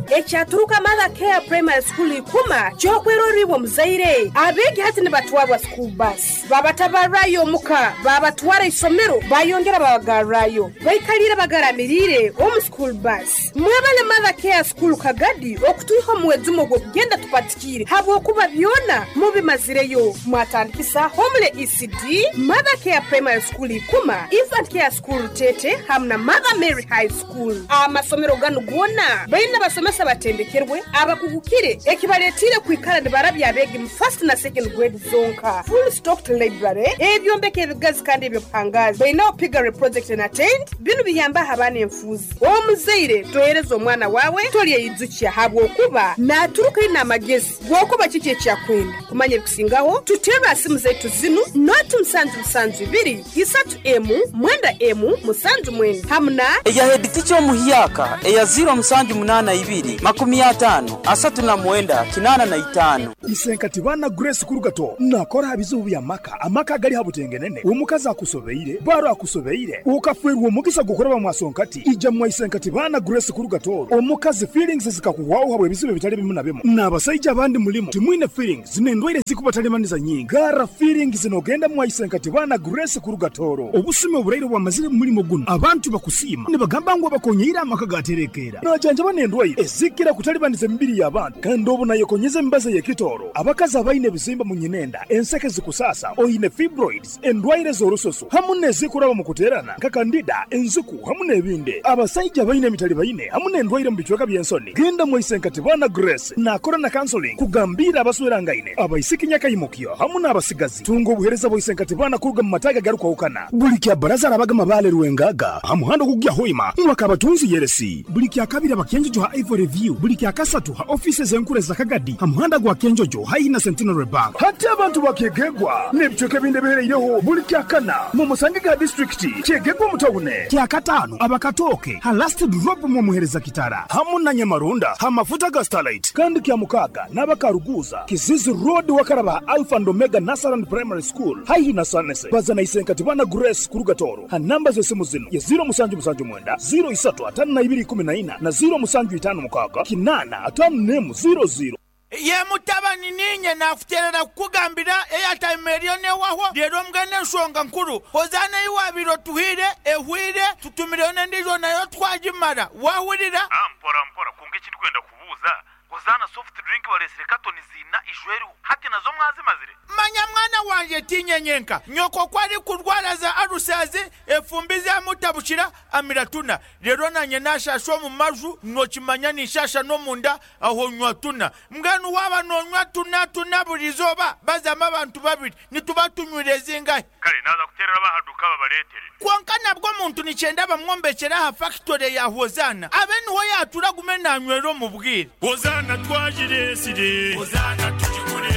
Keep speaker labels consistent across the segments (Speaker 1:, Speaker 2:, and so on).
Speaker 1: Ekyaturuka Mother Care Primary School Ikuma ky'okwerorra iwe omuzaire. Abeegi hati nibatwarwa school bus. Babatabarrayo omuka, babatwara isomero, bayongera babagarrayo. Baikaliire bagaramiriire omu school bus. Mwebale Mother Care School Kagadi okutwiha omu mwejumo gw'okugenda tupatikiire habwokuba byona mubimazireyo. Mwatandikisa Homely ECD, Mother Care Primary School Ikuma, Infant Care School Rutete hamu na Mother Mary High School. Amasomero ganu goona baine abasomesa abatendekerwe, abakugukire ekibaletiire kwikara nibarabya abeegi mu first na second grade zonka. Full stocked library, ebyombeko ebigazi kandi eby'obuhangaazi. Bainaho piggery project and attend. Binu biyambaho abaana enfuuzi. Omuzaire tohereza omwana waawe tolyeyijukya habwokuba naaturuka aine amagezi g'okuba kiki eki akwenda. Kumanya ebikusingaho, tuterre ha simu zaitu zinu, noti musanju musanju ibiri, isatu emu, mwenda emu, musanju mwenda hamu na.
Speaker 2: Eya heeditica omuhyaka eya ziiro musanju munaana ibiri, makumi ataano, asatu na mwenda, kinaana na itaano.
Speaker 3: Isenkati baana Grace Kurugato nakora aha bizibu by'amaka, amaka agali ha butengenene, omukazi akusobeire, baro akusobeire, okafeerwa omugisa gw'okuraba mwasonkati, ija mwa Isenkati baana Grace Kurugato, omukazi feelings zikakuhwaho habw'ebizibu ebitali bimu na bimu, n'abasaija abandi mulimu timwine feelings n'endwaire ezikubatalibaniza nyingi, garra feelings n'ogenda mwa Isenkati baana Grace Kurugatoro. Obusumi oburaire obwamazire mu mulimo gunu, abantu bakusiima nibagamba ngu abakonyeire amaka gaterekeera. Najanjaba n'endwaire ezikira kutalibaniza emibiri y'abantu kandi obu nayekonyeza emibazi ey'ekitooro. Abakazi abaine ebizimba mu nyinenda, enseke zikusaasa, oine fibroids, endwaire z'orususu hamu n'ezikuraba omu kuteerana nka kandida, enziku hamu n'ebindi. Abasaija abaine emitalibaine hamu n'endwaire omu bicweka by'ensoni, genda mwaise Nkatibana Grace naakora na counseling kugambiira abaswerangaine, abaisiki nyakaimukyo hamu n'abasigazi. Tunga obuheereza bwa Isenkatibana kuruga mu mataagi agarukwahukana. Buli kya Baraza arabaga Mabaale Rwengaga ha muhanda ogukugya Hoima mwaka Abatunzi Yeresi. Buli kya Kabiri aba Kyenjojo ha Ivory View. Buli kya Kasatu ha ofiisi ez'enkuru eza Kagadi ha muhanda gwa Kyenjojo haihi na Centenary Bank. Hati abantu ba Kyegegwa n'ebicweka ebindi ebihereireho buli kya Kana mumusange ga disiturikiti Kyegegwa omu tawune. Kya Kataano aba Katooke ha Last Drop mwomuhereza Kitara hamu na Nyamarunda ha mafuta ga Starlight. Kandi kya Mukaaga n'aba Karuguuza, Kizizi Road wakaraba ha Alpha and Omega Nursery and Primary School haihi na Sanese. Baza na Isenkatibana Grace kuruga Tooro ha namba z'esimu zinu ye ziiro musanju musanju mwenda, ziiro isatu ataano na ibiri ikumi na ina na ziiro musanju itaano mukaaga kinaana ataano n'emu ziiro ziiro.
Speaker 4: Ye mutabani, niinye naakuteerera kukugambira eyataima eriyo n'ewahwo. Reero mbwenu enshonga nkuru, Hozaana ei waabaire otuhaire ehweire, tutumireyo n'endiijo nayo twagimara. Waahurira?
Speaker 5: Mpora mpora, kwonka eki ndikwenda kubuuza, Hozaana soft drink bareetsire katoni ziina ijo eriho, hati nazo mwazimazire?
Speaker 4: Manya mwana wangye, tiinye nyenka. Nyoko ku arikurwara za alusazi, efumbi zaamutabukira, amira tuna. Reero naanye naashaasha omu maju, nookimanya ninshaasha n'omunda, aho nywa tuna. Mbwenu waaba noonywa tuna tuna buri izooba, bazamu abantu babiri, nituba tunywire zingahi?
Speaker 5: Kare naaza kuteerera ab'aha duuka babareetere.
Speaker 4: Kwonka nabwo omuntu nikyenda bamwombekyere aha fakitore ya Hozaana, abe niho yaatuura agume naanywera omu bwire.
Speaker 6: Hozaana twagireetsire. Hozaana tugigure.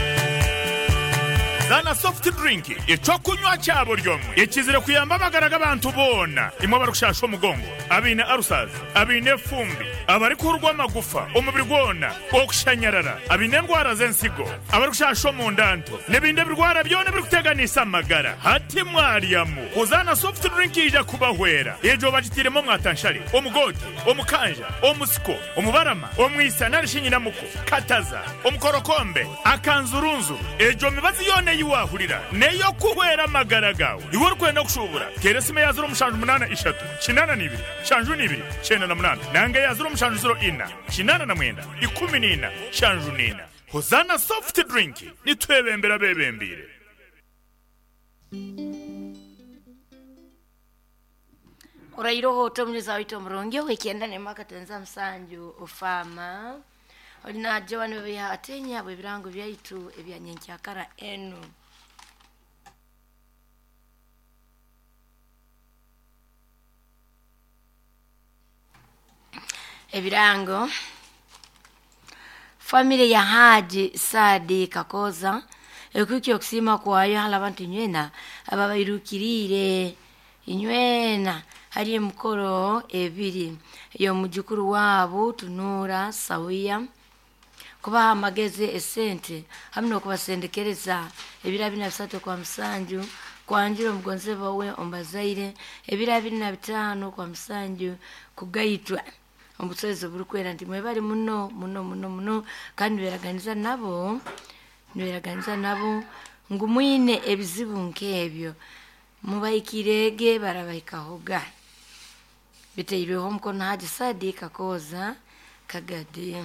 Speaker 7: Zaana Soft Drink, eky'okunywa kya buri omwe ekizire kuyamba amagara g'abantu boona. Imwe abarikushasha omugongo, abaine ulcers, abaine efumbi, abarikuhurwa amagufa omubiri gwona, okushanyarara, abaine endwara z'ensigo, abarikushasha omunda nto, n'ebindi ebirwara byona ebirikuteganisa amagara. Hati mwaryamu. Hozaana Soft Drink yaija kubahwera. Egyo bagitairemu omwatanshare, omugoote, omukanja, omusiko, omubarama, omwisa nari shi nyinamuko, kataza, omukorokombe, akanzurunzuru. Egyo mibazi yoona ei waahurira n'ey'okuhwera amagara gaawe. Iwe orikwenda kushuubura, teera esimu eya ziro mushanju munaana ishatu, kinaana na ibiri, nshanju na ibiri, kyenda na munaana nanga eya ziro mushanju ziro ina, kinaana na mwenda, ikumi na ina, nshanju na ina. Hozaana Soft Drink, nitwebembera abeebembeire.
Speaker 8: Orairoho ota omunyuzi waitu omurungi ow'ekyenda n'emwe akatenza musanju ofaama ori na Joan Babiha Atenya habw'ebirango byaitu ebya nyenkyakara enu. Ebirango Famire ya Haji Saadi Kakooza ekuhikya okusiima kwayo hali abantu inywena ababairukiriire inywena hali emikoro ebiri ey'omujukuru waabu Tunuura Sawiya kubaha amagezi, esente hamu n'okubasendekereza ebiro abiri na bisatu Okwamusanju kwanjura omugonzebwa we omu bazaire, ebiro abiri na bitaano Okwamusanju kugaitwa. Omubusozi oburukwera nti mwebali muno muno muno muno, kandi niberaganiza nabo, niberaganiza nabo ngu mwine ebizibu nk'ebyo mubaikirege barabahikahoga. Biteirweho omukono Haji Sadi Kakooza Kagadi.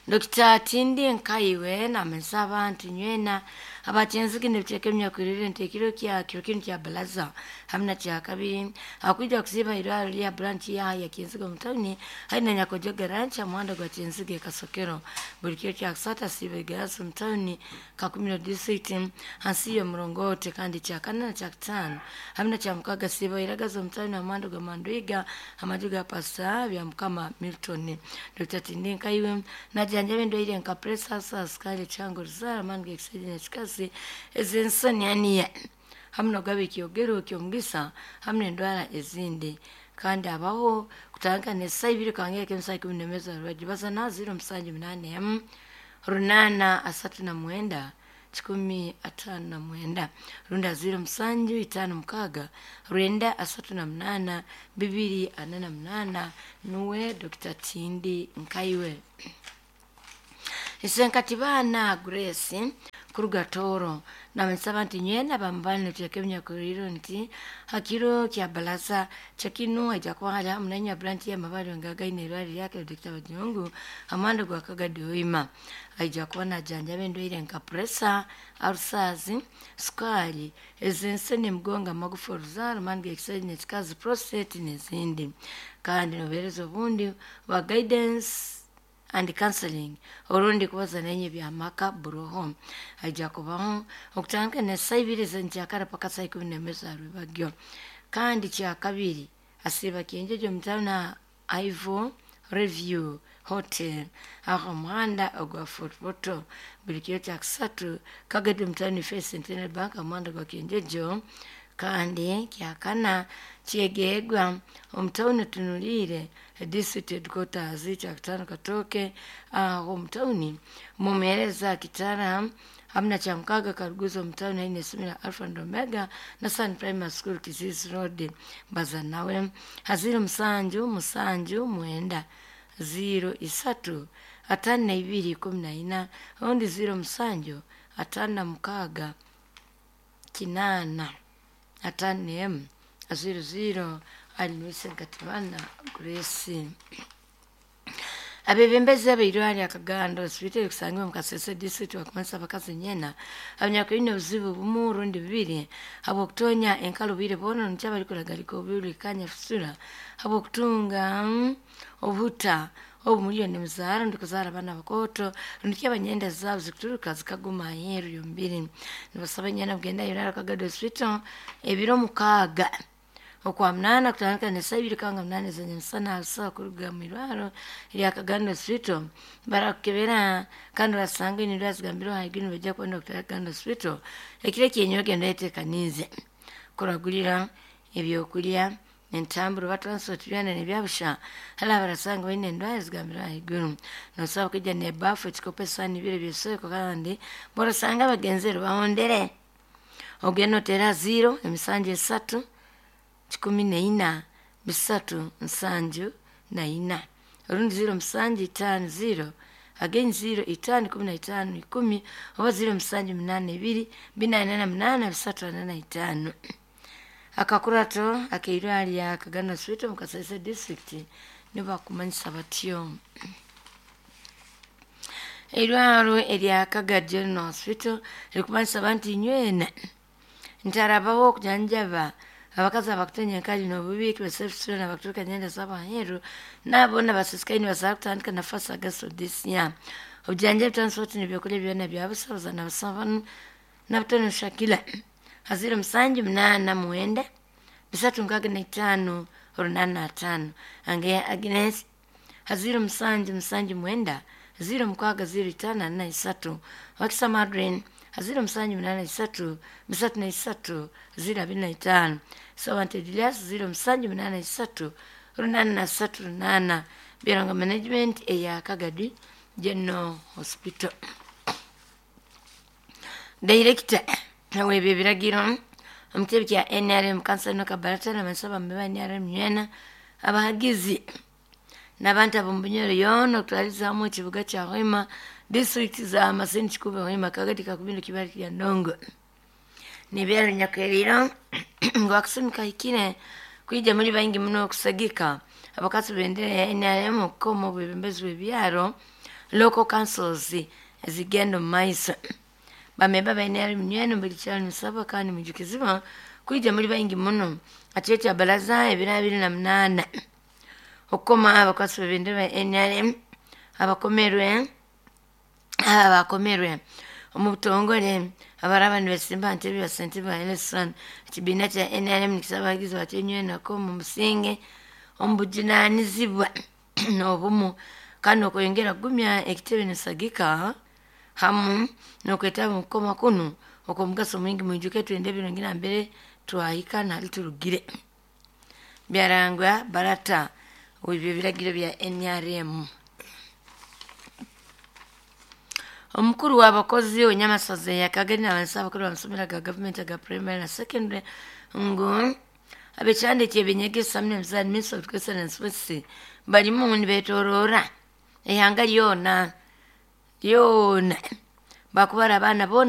Speaker 8: Dr. Tindi Nkaiwe namanyisa abantu nywena abakyenzigi nebiteeka emyakwirire nti ekiro kya kiro kinu kya balaza hamwe na kya kabiri akwija kusiiba irwaro lya branch ya ya Kyenzige omu tawuni hari na Nyakojo garanch omuhanda gwa Kyenzige Kasokero. Buli kiro kya kusatu asiiba egarasi omu tawuni Kakumiro district hansi y'omurongote, kandi kya kana na kya kutaano hamwe na kya mukaga asiiba iragaza omu tawuni omuhanda gwa Mandwiga amaju ga Pastor bya Mukama Milton. Dr. Tindi Nkaiwe najanjaba endwaire nka pressure, sukari, ekyango, ruzaara, amaani g'ekisajja n'ekikazi, ez'ensoni hamwe nogaba ekyogero ky'omugisa hamwe n'endwara ezindi. Kandi abaho kutandika n'esaa ibiri kangeka emisaa 11 za rwajyo baza na 0781 839 159 runda 0756 938 248. Nuwe Dr. Tindi Nkaiwe. Isenkati baana Grace kuruga Toro namanyisa nti nywena bamubani netuteeka ebinyakuriro nti hakiro kya balaza kyakinu aija kuba hali hamu nanya branch y'amabali ngagaine irwari lyake Dr. Bajungu amanda gwa Kagadi Hoima. Aija kuba najanjaba endwaire nka pressure, ulcers, sukari, ez'ensoni, emigongo, amagufa, oruzaaro, amaani g'ekisajja n'ekikazi, prostate n'ezindi. Kandi nobuheereza obundi bwa guidance and counseling orundi kubaza nenye byamaka buroho aija kubaho okutandika n'esaa ibiri z'enkyakara paka saa 11 za rwebagyo. Kandi kya kabiri asiiba Kyenjejo omutauni Ivo Review Hotel aho omuhanda ogwa Fort Portal. Buli kiro kya kusatu Kagadi omutauni First Centenary Bank omuhanda gwa Kyenjejo. Kandi kyakana kyegegwa omutauni tunuliire district headquarters kya kutaano Katooke aho omutauni mumuhereza Kitara hamwe na kyamukaga Karuguzo omutauni haine essomero Alpha and Omega na Sun Primary School Kizizi Road. Baza nawe ha 07 79 03 52 14 ondi 07 56 8 5 00. Alinwise Nkatimana Grace. Abebembezi abeirwari Akagando hospitali kusangibwa mu Kasese district bakumanyisa abakazi nyena abanyakulina obuzibu bumu rundi bubiri habw'okutonya enkalo bwire boona nikyo abarikuragarika obuhurikanya fusura habw'okutunga obuhuta obu milioni muzaara rundi kuzaara abaana bakooto rundi ki abanyenda zaabo zikuturuka zikaguma aheeru yombiri. Nibasaba nyena kugenda irwari Akagando hospital ebiro 6 okwa 8 kutandika n'esaa ibiri kanga 8 z'enyamusana abasawo kuruga mu irwaro rya Kagando hospital barakukebera kandi basanga endwara zigambirwe ahaiguru nibaija kubona Dr. Kagando hospital ekiro ekyenyowe genda oyeteekaniize kuragurira ebyokurya entambura oba transport byona nebyabusha hali abarasanga baine endwara zigambirwe ahaiguru. Nosobola kwija n'ebaafu, ekikopo, esaani ibiri ebyesweko kandi borasanga abagenzere bahondere ogenda oteera 0 7 3 14 3 74 orundi 0 7 5 0 again 0 5 15 10 oba 0 7 8 2 4 8 3 45. Akakurato akeirwari ya Kagando hospital mu Kasese district nibakumanyisa batyo. Eirwaro erya Kagadi General Hospital rikumanyisa abantu nywena ntarabaho okujanjaba abakazi abakutonya enkali n'obubi kibasefusura n'abakuturuka nyenda z'abaheru nabo nabasisikaini basobola kutandika na first August of this year. Obujanjabi transport n'ebyokurya byona byabusabuza nabasaba nabutoni Shakila ha 0 7 8 9 365 85 ange Agnes ha 0 7 7 9 0 6 0 5 4 3 Wakisa Madrin ha 0 7 8 3 3 3 0 25 Sawante Julius 0 7 8 3 8 3 8 Biranga Management eya Kagadi General Hospital. Director nawe ebyo ebiragiro omukitebe kya NRM kansala Kabarata nabansaba mbe ba NRM nywena abahagizi N'abantu ab'omu Bunyoro yoona okutwaliza hamu ekibuga kya Hoima, disitulikiti za Masindi, Kikuube, Hoima, Kagadi, Kakumiro, Kibaale, Kiryandongo. Nibyaro nyakeriro ngu akasumi kahikire kwija muri baingi muno okusagika abakasi bendera ya NRM okukoma obwebembezi bw'ebyaro, local councils, ezigenda omu maiso. Bamemba ba NRM nywena buli kyaro nimusabwa kandi mwijukizibwa kwija muri baingi muno ha kiro kya baraza ebiro 28 okukoma abakwasi b'ebendera ba NRM abakomerwe, aba bakomerwe omu butongore abaraba nibesimba ha ntebe ya ssentebe wa LC1. Ekibiina kya NRM nikisaba abahagizi bakyo nywena omu businge, omu bujunanizibwa n'obumu kandi n'okweyongera kugumya ekitebe nisagika hamu n'okwetaba omu kukoma kunu okw'omugaso mwingi. Mwijuke twende ebirungi nambere twahika nali turugire. Byarangwa barata ebyo ebiragiro bya NRM. Omukuru w'abakozi onyamasaza yakagari n'abansi abakuru b'amasomero aga gavumenti aga primary na secondary ngu abekyanda ekyebinyegesa n'emizaani, Ministry of Education and Sports, barimu nibetorora ihanga lyona lyona bakubara abaana boona.